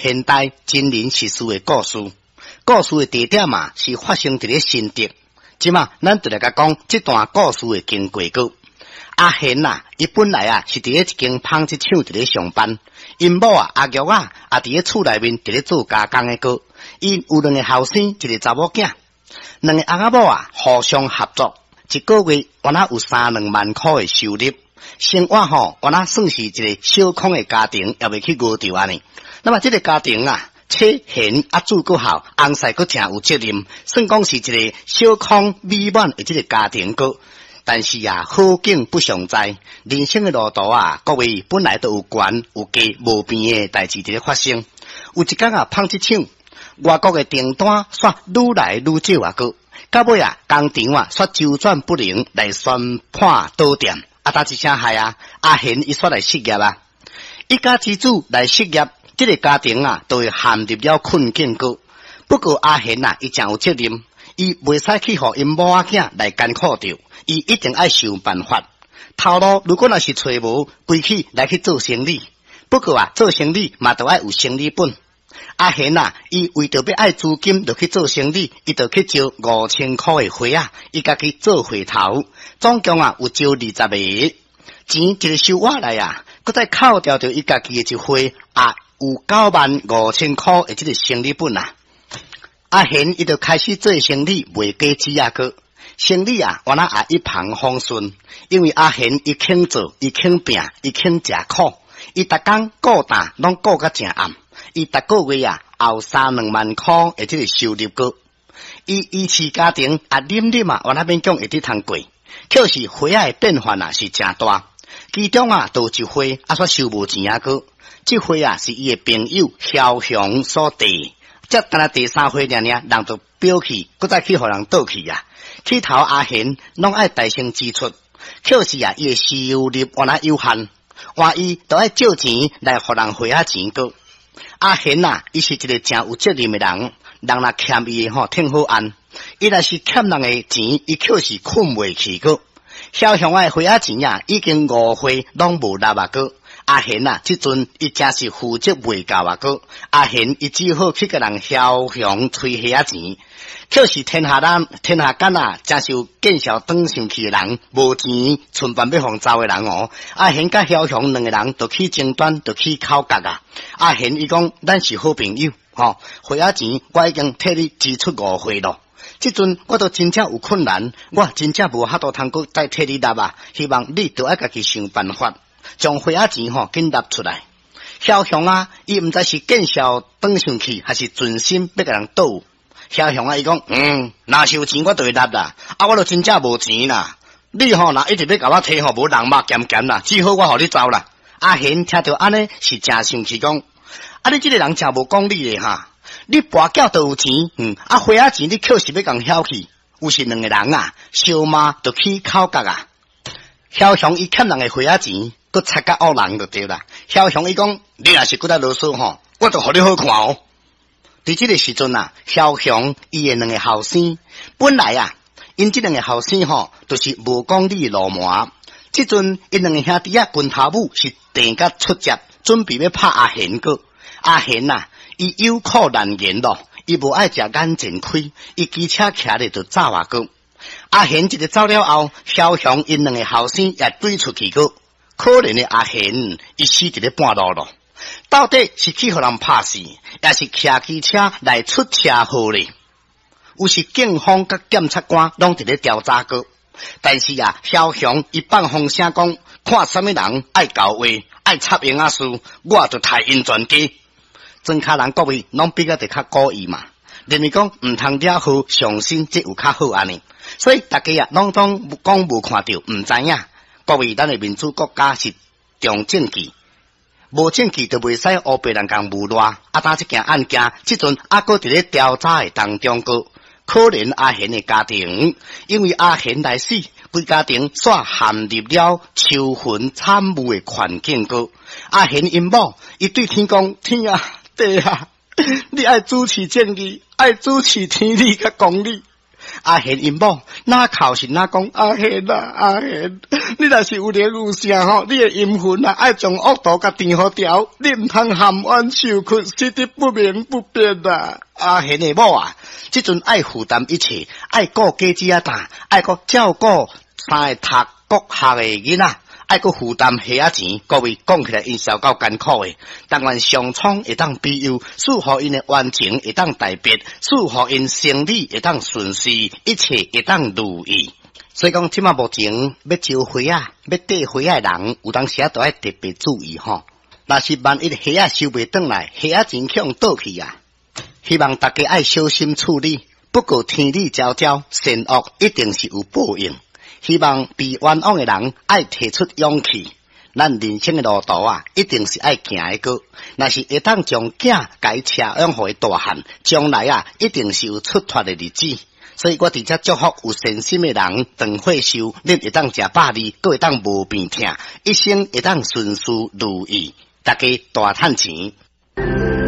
現代真人實事的故事，故事的地點嘛是發生佇咧新竹。這馬咱就來共講這段故事的經過閣。阿賢啊，伊本來啊是佇咧一間紡織廠佇咧上班，𪜶某啊阿玉啊，也佇咧厝內面佇咧做加工的閣。𪜶有兩個後生，一個查某囝，兩個翁仔某啊互相合作，一個月敢若有三兩萬箍的收入，生活吼敢若算是一個小康的家庭，也袂去餓著按呢。那麼這個家庭啊，妻賢啊子閣孝，翁婿閣誠有責任，算講是一個小康美滿的這個家庭閣。但是啊，好景不常在，人生的路途啊，各位本來都有懸有低無平的代誌佇咧發生。有一工啊，紡織廠外國的訂單煞愈來愈少啊，閣到尾啊，工廠啊煞週轉不靈來宣判倒店。啊，焦一聲害啊，阿賢伊煞來失業啊，一家之主來失業，這個家庭啊，就會陷入了困境閣。不過阿賢啊，伊誠有責任，伊袂使去予𪜶某仔囝來艱苦著，伊一定愛想辦法。頭路如果若是揣無，規氣來去做生理。不過啊，做生理嘛，著愛有生理本。阿賢啊，伊為著欲愛資金，就去做生理，伊就去招5000箍的伙仔，伊家己做會頭，總共啊有招20個，錢一个收倚來啊，閣再扣掉著伊家己的一會，也有95,000箍的這个生理本啊。阿賢伊就開始做生理，賣果子啊，閣生理啊，原來也一帆風順，因為阿賢伊肯做，伊肯拚，伊肯食苦，伊逐工顧擔攏顧甲誠暗，伊逐個月啊，也有三兩萬箍的這个收入閣。伊維持家庭啊，忍忍啊，原來勉強會得通過。可是伙仔的變化啊是誠大，其中啊，就有一伙啊，煞收無錢啊閣。這伙啊是伊的朋友蕭雄所提。才干焦第三回爾爾，人就表去，閣再去予人倒去啊！起頭阿賢攏愛代先支出，可是啊，伊的收入原來有限，換伊都愛借錢來予人還仔錢閣。阿賢啊，伊是一個誠有責任的人，人若欠伊的吼，挺好按；伊若是欠人的錢，伊卻是睏袂去閣。蕭雄的伙仔錢啊，已經五回攏無納啊閣。阿賢啊，這陣伊誠是負責袂夠啊！閣阿賢伊只好去共人梟雄催伙仔錢，可是天下人天下間啊，誠是有見笑轉生氣的人，無錢存辦欲予走的人哦。阿賢佮梟雄兩個人就起爭端，就起口角啊！阿賢伊講，咱是好朋友，吼，伙仔錢我已經替你支出五回咯。這陣我都真正有困難，我真正無法度通閣再替你納啊！希望你都愛家己想辦法。將伙仔錢吼緊納出來，梟雄啊，伊毋知是見笑轉生氣，還是存心欲共人賭。梟雄啊，伊講，若是有錢我就會納啦，啊，我都真正無錢啦。你吼若一直欲共我提吼，無人肉鹹鹹啦，只好我予你走啦。阿賢聽著按呢是誠生氣，講，啊，你這个人誠無講理的哈！你跋筊都有錢，啊，伙仔錢你卻是欲共曉去，有是兩个人啊，相罵就起口角啊。梟雄伊欠人的伙仔錢，閣插甲惡人就對啦。梟雄伊講，你若是閣再囉嗦吼，我就予你好看哦。佇這个時陣啊，梟雄伊的兩个後生，本來啊，𪜶這兩个後生吼，就是無講理的流氓。這陣𪜶兩个兄弟仔拳頭母是鄭甲出接，準備欲拍阿賢閣。阿賢啊，伊有苦難言咯，伊無愛食眼前虧，伊騎車騎咧就走啊閣。阿賢一个走了後，梟雄𪜶兩个後生也追出去閣。可憐的阿賢，伊死佇咧半路咯。到底是去予人拍死，抑是騎機車來出車禍咧？有時警方佮檢察官攏佇咧調查閣。但是啊，梟雄伊放風聲講，看啥物人愛搞話，愛插癭仔事，我就刣𪜶全家。莊跤人各位攏比較得較古意嘛，認為講毋通惹禍上身，這有較好按呢。所以大家啊，攏當講無看著，毋知影。各位，咱的民主國家是重證據，無證據就袂使烏白人共誣賴。啊，焦這件案件，這陣猶閣佇咧調查的當中，閣可憐阿賢的家庭，因為阿賢來死，規家庭煞陷入了愁雲慘霧的環境。閣阿賢𪜶某，伊對天講：天啊，地啊，你愛主持正義，愛主持天理佮公理。阿賢𪜶某，若哭是若講阿賢啊，阿賢，你若是有靈有性吼，你的陰魂啊，愛將惡毒共填予牢，你毋通含冤受屈，死得不明不白啊！阿賢的某啊，這陣愛負擔一切，愛顧家姊仔擔，愛閣照顧三個讀國學的囡仔。愛閣負擔鞋仔錢，各位講起來𪜶是有夠艱苦的。但願上蒼會當庇佑，賜予𪜶的冤情會當大別，賜予𪜶生理會當順遂，一切會當如意。所以講，這馬目前欲招花仔、欲綴花仔的人，有當時仔都愛特別注意吼。若是萬一鞋仔收袂轉來，鞋仔錢去予倒去啊！希望大家愛小心處理。不過天理昭昭，善惡一定是有報應。希望被冤枉的人愛提出勇氣，咱人生的路途啊，一定是愛行得過。若是會當將囝共車養予伊大漢，將來啊，一定是有出脫的日子。所以我佇遮祝福有善心的人，長歲壽，恁會當食百二，閣會當無病痛，一生會當順遂如意，大家大趁錢。